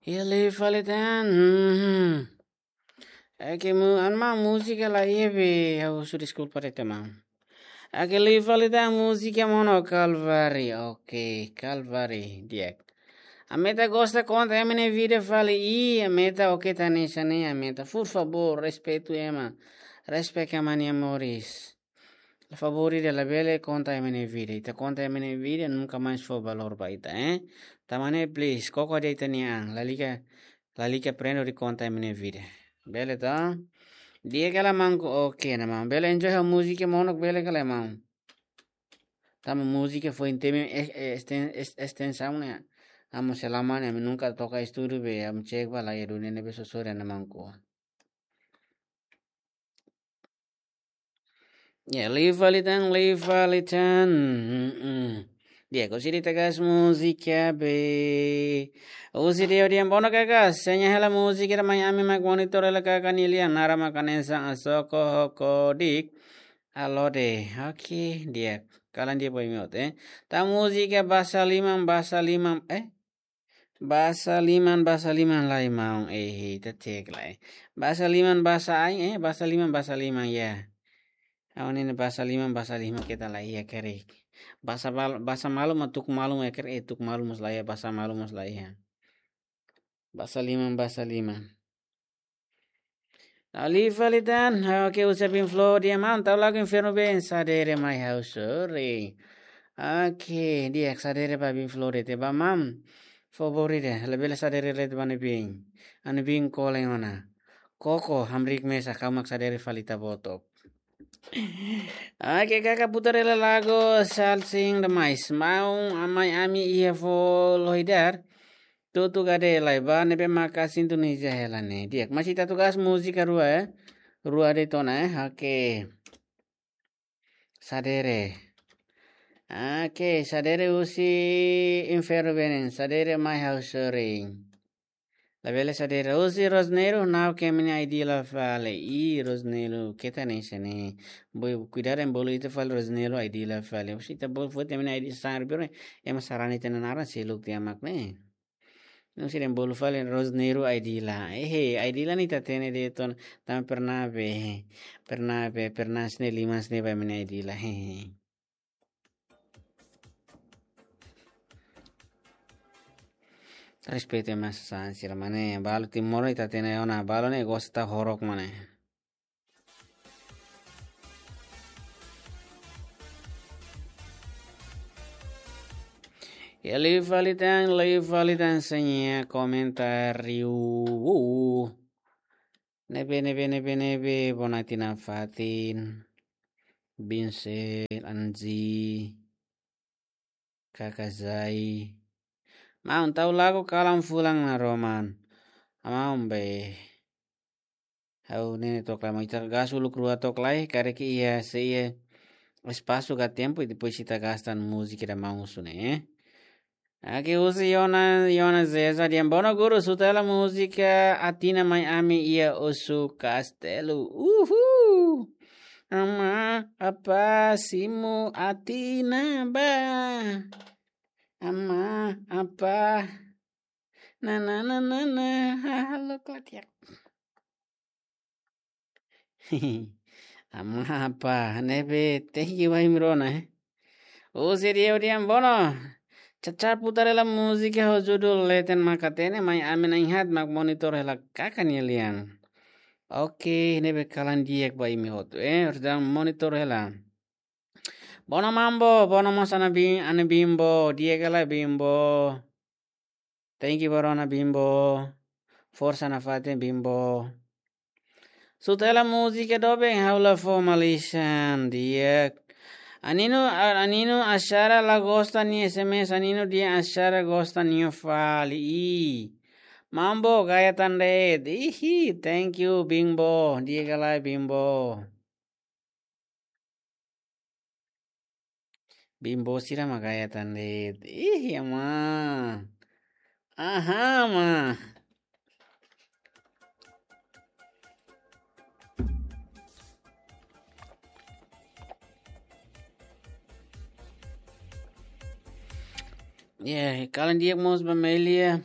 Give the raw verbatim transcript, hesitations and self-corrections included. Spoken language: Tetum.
Iha live fali tan. Hmm. Oke, mu, an maun, múzika la iha be, ha'u husu deskulpa de'it maun. Oke, live fali tan, múzika monu Kalvari. Oke, Kalvari, di'ak. Ami ita gosta konta ema nia vida fali, i ami ita oke tan hanesan ne'e, ami ita, por favor, respeitu ema. Respect ema nia moris. La favor ida, labele konta ema nia vida. Ita konta ema nia vida, nunka mais fó valór ba ita, eh? Tanba ne'e, please, koko de'it ita-nia an. Lalika, lalika prende hodi konta ema nia vida. Bele to? Di'ak ka lae maun, oke ona maun. Bele enjoy ho múzika monu, bele ka lae maun? Tanba múzika foin temi es-, es-, esten-, es-, estensaun ne'e. Ami selama ne'e, ami nunka toka estúdiu be, ami cek ba la iha duni ne'ebé, so sorry ona maun. Ya, live fali tan, live fali tan. Mm-mm. Di'ak, husi ita gas múzika be. Husi ida-ne'e, di'ak, bono kaka, seña hela múzika ida mai ami mak monitor hela kaka nia lian, naran mak hanesan Asoko Hokodik. Alode. Oke, di'ak. Kalan di'ak ba imi hotu, eh. Tan múzika Basa Liman, Basa Liman, eh? Basa Liman, Basa Liman lai maun, eh, ita cek lai. Basa Liman, Basa Ain, eh, Basa Liman, Basa Liman, ya. Ha'u-nia Basa Liman, Basa Liman keta la iha karik. Basa bal-, Basa Malu mak Tuku Malu mak karik, eh, Tuku Malu mós la iha, Basa Malu mós la iha. Basa Liman, Basa Liman. Live fali tan, oke, husi Bin Flow, di'ak maun, tau lagu Infernu Been, Sadere Mai Ha'u Sorin. Oke, di'ak, sadere ba Bin Flow de'it ba maun. Favor ida, labele sadere de'it ba ne'ebé. Anu bin kole ona. Koko, hamriik mesak, ha'u mak sadere fali ita boot. Oke, kaka putar hela lagu Salsing Demais. Maun, amai ami iha fó lohi dar. Tutu gade lai ba ne'ebé maka sintonizadu hela ne'e. Di'ak, masih ita tugas múzika rua, eh. Rua de'it ona, eh. Oke. Sadere. Oke, Sadere husi Infernu Been, Sadere Mai Ha'u Sorin. Labele sadere husi Rosneiro, nau ke mini I D la fali. I Rosneiro, keta hanesan ne'e. Boi, kuidadu ema bolu ita fali Rosneiro I D la fali. Husi ita bolu foti mini I D sang ribiro, ema sarani ita-nia naran seluk tiha mak ne'e. Não sei, bolu fali Rosneiro I D la. Eh, eh, I D la ne'e ita hatene de'it ona, tanba pernah be, pernah be, pernah sne lima sne ba mini I D la. Eh, eh. Respeitu ema sasán sira mane, balu Timor ita hatene ona, balu ne'e gosta horok mane. Ya, live fali tan, live fali tan, seña komentáriu. Ne'ebé, ne'ebé, ne'ebé, ne'ebé, Bonati nafatin. Binsel, Anzi. Kaka Zai. Maun, tau lagu Kalan Fulan Naroman. Maun be. Ha'u ne'e took lai, maun, ita gas uluk rua took lai, karik iha, se iha espasu ka tempu, i depois ita gas tan múzika ida maun husu ne'e. Oke, husi Yona, Yona Zeza, di'ak, bono guru, suta hela múzika Atina Mai Ami iha Osu Kastelu. Uhul. Ama, apa, simu, Atina, ba. Ama, apa. Na, na, na, na, na. Halo, Claudia. Ama, apa, ne'ebé, thank you ba imi rua ona, eh. Husi Rio Diambono. Cacar putar hela múzika ho judul Leten Makatene, mai ami na'in-haat mak monitor hela kaka nia lian. Oke, ne'ebé kalan di'ak ba imi hotu, eh. Harus dalam monitor hela. Bono Mambo, bono mós ana Bim-, ana Bimbo, di'ak ka lae Bimbo. Thank you ba rona Bimbo. Forsa nafatin Bimbo. Suta hela múzika doben ha'u la fó malisan, di'ak. Aninu, a-, Aninu Asara la gosta nia S M S, Aninu di'ak, Asara gosta nia fali. Ih. Mambo gaya tan de'it. Ihi, thank you Bimbo. Di'ak ka lae Bimbo. Bimbo sira mak gaya tan de'it. Ih, ya ma. Aha, ma. Ya, kalan di'ak mós ba Melia.